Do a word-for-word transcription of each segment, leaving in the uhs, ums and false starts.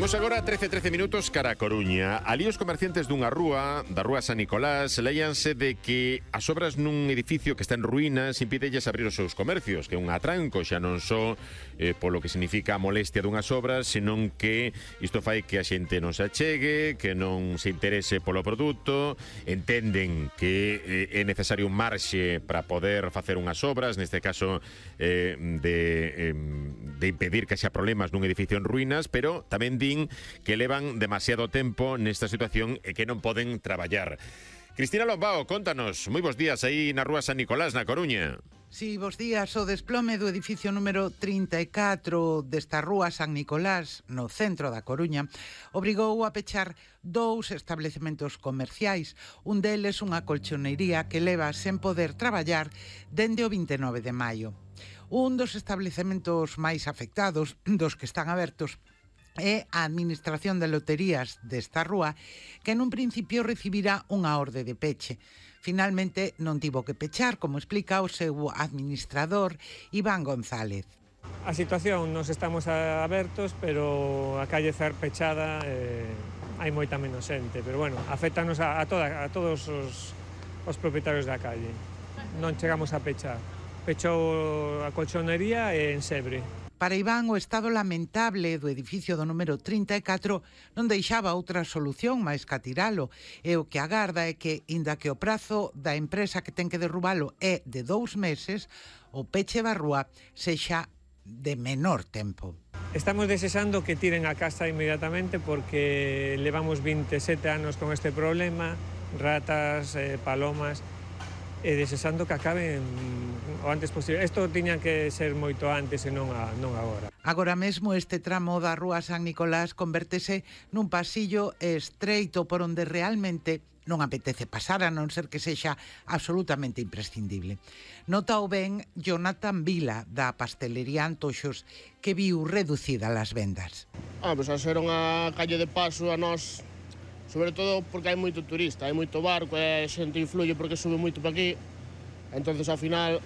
Imos agora a trece, trece minutos cara a Coruña. Ali os comerciantes dunha rúa, da rúa San Nicolás, leíanse de que as obras nun edificio que está en ruínas impídelles abrir os seus comercios, que é un atranco xa non só eh, polo que significa a molestia dunhas obras, senón que isto fai que a xente non se achegue, que non se interese polo produto, entenden que eh, é necesario un marxe para poder facer unhas obras, neste caso eh, de, eh, de impedir que xa problemas nun edificio en ruínas, pero tamén di que levan demasiado tempo nesta situación e que non poden traballar. Cristina Lombao, contanos, moi bons días aí na rúa San Nicolás, na Coruña. Sí, bos días. O desplome do edificio número trinta e catro desta rúa San Nicolás, no centro da Coruña, obrigou a pechar dous establecementos comerciais. Un deles unha colchonería que leva sen poder traballar dende o vinte e nove de maio. Un dos establecementos máis afectados, dos que están abertos, é a Administración de Loterías desta rúa, que nun principio recibirá unha orde de peche. Finalmente non tivo que pechar, como explica o seu administrador, Iván González. A situación, nos estamos abertos, pero a calle cer pechada eh, hai moita menos xente, pero bueno, afectanos a, a, toda, a todos os, os propietarios da calle. Non chegamos a pechar. Pechou a colchonería e en Sebre. Para Iván, o estado lamentable do edificio do número trinta e catro non deixaba outra solución máis que atiralo, e o que agarda é que, inda que o prazo da empresa que ten que derrubalo é de dous meses, o peche da rúa sexa de menor tempo. Estamos desexando que tiren a casa inmediatamente porque levamos vinte e sete anos con este problema, ratas, eh, palomas, e desexando que acaben o antes posible. Isto tiña que ser moito antes e non, a, non agora. Agora mesmo este tramo da rúa San Nicolás convértese nun pasillo estreito por onde realmente non apetece pasar, a non ser que sexa absolutamente imprescindible. Nota o ben Jonathan Vila, da pastelería Antoxos, que viu reducida as vendas. Ah, pois a ser unha calle de paso a nós, sobre todo porque hai moito turista, hai moito barco e a xente influye porque sube moito para aquí. Entonces, ao final,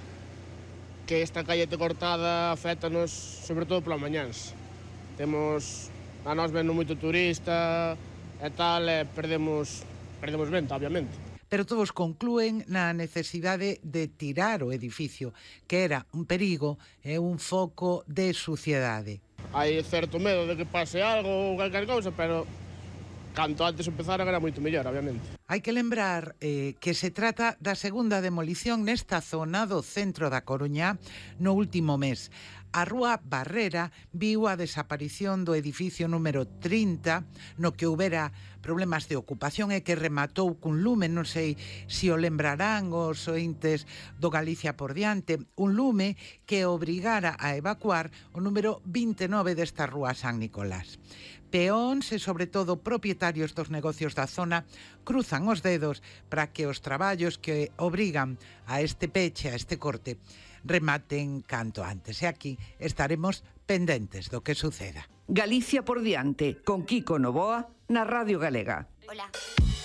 que esta calle te cortada afectanos sobre todo pola mañáns. Temos, a nós vendo moito turista e tal, e perdemos, perdemos venta, obviamente. Pero todos conclúen na necesidade de tirar o edificio, que era un perigo e un foco de suciedade. Hai certo medo de que pase algo ou calquer cousa, pero canto antes empezaran era moito mellor, obviamente. Hai que lembrar eh, que se trata da segunda demolición nesta zona do centro da Coruña no último mes. A rúa Barrera viu a desaparición do edificio número trinta, no que houbera problemas de ocupación e que rematou cun lume, non sei se o lembrarán os ointes do Galicia por diante, un lume que obrigara a evacuar o número vinte e nove desta rúa San Nicolás. Peóns e, sobre todo, propietarios dos negocios da zona cruzan os dedos para que os traballos que obrigan a este peche, a este corte, rematen canto antes. E aquí estaremos pendentes do que suceda. Galicia por diante, con Kiko Novoa, na Radio Galega. Hola.